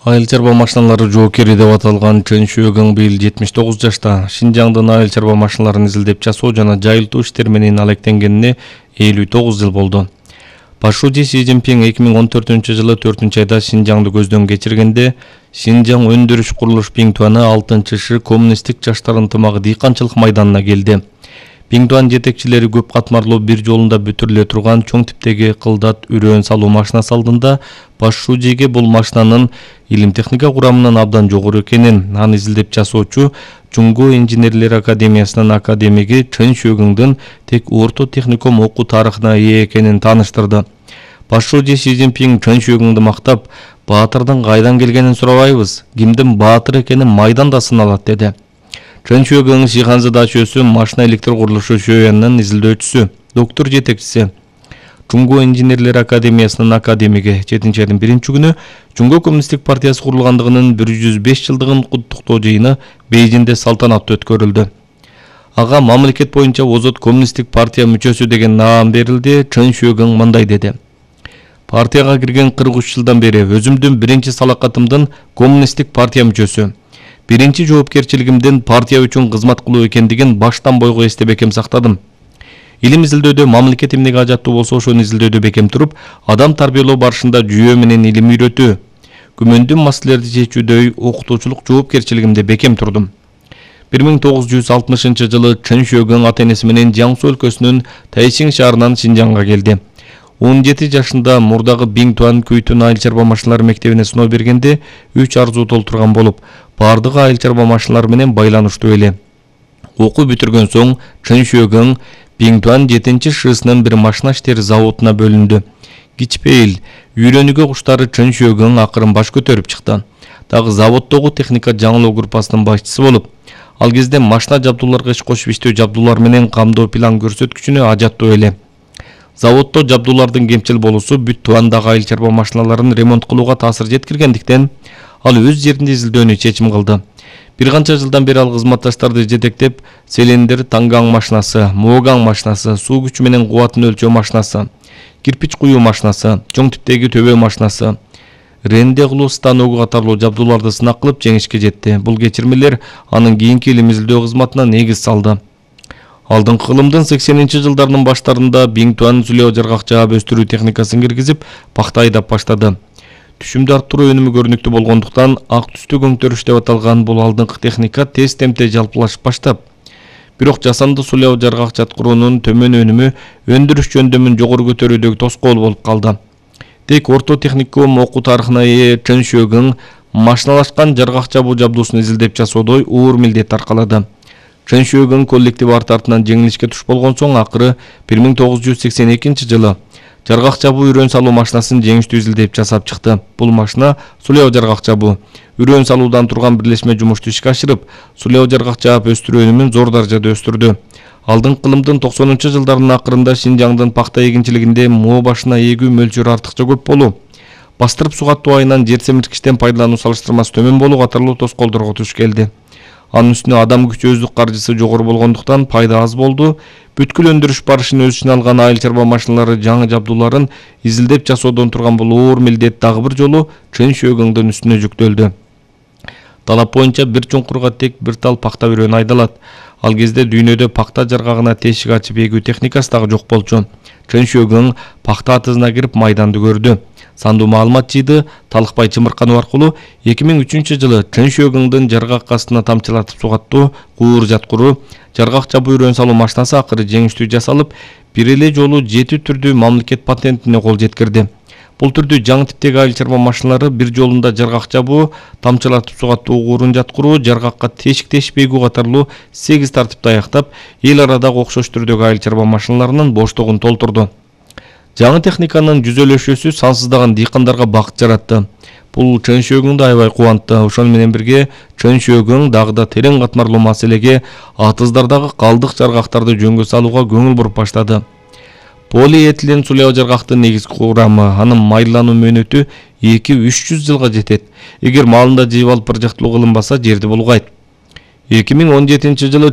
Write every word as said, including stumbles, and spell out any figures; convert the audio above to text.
Айыл чарба машиналары жоокери деп аталган Чын Шөгүң быйыл жетимиш тогуз жашта. Шинжаңдын айыл чарба машиналарын изилдеп жасоо жана жайылтуу иштери менен алектенгенине элүү тогуз жыл болду. Башчы Си Цзиньпин эки миң он төртүнчү жылы төртүнчү айда Шинжаңды көздөн кечиргенде, Шинжаң өндүрүш курулуш Биңтуаны алтынчы Ш коммунисттик жаштар ынтымагы дыйканчылык майданына келди. Биңтуан жетекчилери көп катмарлуу бир жолунда бүтүрүлө турган чоң типтеги кылдат үрөөн салуу машинасы алдында Башчыге бул машинанын илим техника курамынан абдан жогору экенин, аны изилдеп жасоочу Жуңго инженерлер академиясынын академиги Чын Шөгүңдүн тек орто техникум окуу тарыхына ээ экенин тааныштырды. Башчы Си Цзиньпин Чын Шөгүңдү мактап, баатырдын кайдан келгенин сурабайбыз, кимдин баатыр экени майданда сыналат деди. Чын Шөгүң Шиханзы дачөсү машина электр курулушу шөөнүнүн изилдөөчүсү, доктор жетекчиси. Жуңго инженерлер академиясынын академиги жетинчи айдын биринчи күнү Жуңго коммунисттик партиясы курулгандыгынын бир жүз беш жылдыгын куттуктоо жыйыны Бейжиңде салтанаттуу өткөрүлдү. Ага мамлекет боюнча озот коммунисттик партия мүчөсү деген наам берилди. Чын Шөгүң мындай деди: Партияга кирген кырк үч жылдан бери өзүмдүн биринчи салакатымдын коммунисттик партия мүчөсү. Биринчи жоопкерчилигимдин партия үчүн кызмат кылуу экендигин баштан бойго эстеп бекем сактадым. Илим изилдөөдө мамлекет эмнеге ажаттуу болсо ошону изилдөөдө бекем туруп, адам тарбиялоо барышында жүйөө менен илим үйрөтүү, күмөндүү маселелерди чечүүдө окутуучулук жоопкерчилигимде бекем турдум. бир миң тогуз жүз алтымышынчы жылы Чын Шөгүң ата-энеси менен Жаңсу өлкөсүнүн Тайшиң шаарынан Шинжаңга келди. он жети жашында мурдагы Биңтуан Күйтүн айыл чарба машиналары мектебине сыноо бергенде үч арзуу толтурган болуп, бардыгы айыл чарба машиналары менен байланыштуу эле. Окуу бүтүргөн соң Чын Шөгүң Биңтуан жетинчи Шсынын бир машина иштери заводуна бөлүндү. Кичпейил, үйрөнүүгө куштары Чын Шөгүң акырын баш көтөрүп чыкты. Дагы заводдогу техника жаңылоо группасынын башчысы болуп, ал кезде машина жабдууларга иш кошуп иштөө жабдуулар менен камдоо план көрсөткүчүнө ажаттуу эле. Заводдо жабдуулардын кемчил болуусу бүт Туандагы айыл чарба машиналарын ремонт кылууга таасир жеткиргендиктен, ал өз жеринде изилдөөнү чечим кылды. Бир канча жылдан бери ал кызматташтарды жетектеп, Селендер Тангаң машинасы, Могаң машинасы, суу күчү менен кубатын өлчөө машинасы, кирпич куюу машинасы, чоң типтеги төбө машинасы, ренде кылуу станогу катарлуу жабдууларды сынак кылып жеңишке жетти. Бул кечирмелер анын кийинки илим изилдөө кызматына негиз салды. Алдыңкы кылымдын сексенинчи жылдарынын баштарында Биңтуан сүлөө жаргак жаап өстүрүү техникасын киргизип, пахта айдап баштады. Түшүмдү арттыруу өнүмү көрүнүктүү болгондуктан ак түстүү көңтөрүш деп аталган бул алдыңкы техника тез темпте жалпылашып баштап, бирок жасанды сулоо жаргак жаткыруунун төмөн өнүмү өндүрүш жөндөмүн жогору көтөрүүдөгү тоскоол болуп калды. Тек орто техникум окуу тарыхына ээ Чын Шөгүң машиналашкан жаргак жабуу жабдуусун изилдеп жасоодо оор милдет аркалады. Чын Шөгүң коллектив арты артынан жеңилишке туш болгон соң акыры бир миң тогуз жүз сексен экинчи жылы жаргак жабуу үрөөн салуу машинасын жеңиштүү изилдеп жасап чыкты. Бул машина сулөө жаргак жабуу, үрөөн салуудан турган бирлешме жумушту ишке ашырып, сулөө жаргак жаап өстүрүү өнүмүн зор даражада өстүрдү. Алдыңкы кылымдын токсонунчу жылдарынын акырында Шинжаңдын пахта эгинчилигинде моо башына эгүү мөлчөрү артыкча көп болуу, бастырып сугаттуу айынан жер семирткичтен пайдалануу салыштырмасы төмөн болуу катарлуу тоскоолдорго туш келди. Анын үстүнө адам күчү өздүк каржысы жогору болгондуктан пайда аз болду. Бүткүл өндүрүш барышын өз ичине алган айыл чарба машиналары жаңы жабдууларын изилдеп жасоодон турган бул оор милдет дагы бир жолу Чын Шөгүңдүн үстүнө жүктөлдү. Талап боюнча бир чуңкурга тек бир тал пахта үрөөнү айдалат. Ал кезде дүйнөдө пахта жаргагына тешик ачып эгүү техникасы дагы жок болчу. Чын Шөгүң пахта атызына кирип майданды көрдү. Сандуу маалымат жыйды, талыкпай чымыркануу аркылуу эки миң үчүнчү жылы Чын Шөгүңдүн жаргак астына тамчылатып сугаттуу куур жаткыруу жаргак жабуу үрөөн салуу машинасы акыры жеңиштүү жасалып, бир эле жолу жети түрдүү мамлекет патентине кол жеткирди. Бул түрдүү жаңы типтеги айыл чарба машиналары бир жолунда жаргак жабуу, тамчылатып сугаттуу куурун жаткыруу, жаргакка тешик тешип эгүү катарлуу сегиз тартипти аяктап, эл арадагы окшош түрдөгү айыл чарба машиналарынын боштугун толтурду. Жаңы техниканын жүзөлөшүүсү сансыздаган дыйкандарга бакыт жаратты. Бул Чын Шөгүңдү аябай кубантты. Ошону менен бирге Чын Шөгүң дагы да терең катмарлуу маселеге, атыздардагы калдык жаргактарды жөнгө салууга көңүл буруп баштады. Полиэтилен сулөө жаргактын негизги курамы, анын майлануу мөөнөтү эки үч жүз жылга жетет. Эгер маалында жыйып алып бир жактылуу кылынбаса, жерди булгайт. эки миң он жетинчи жылы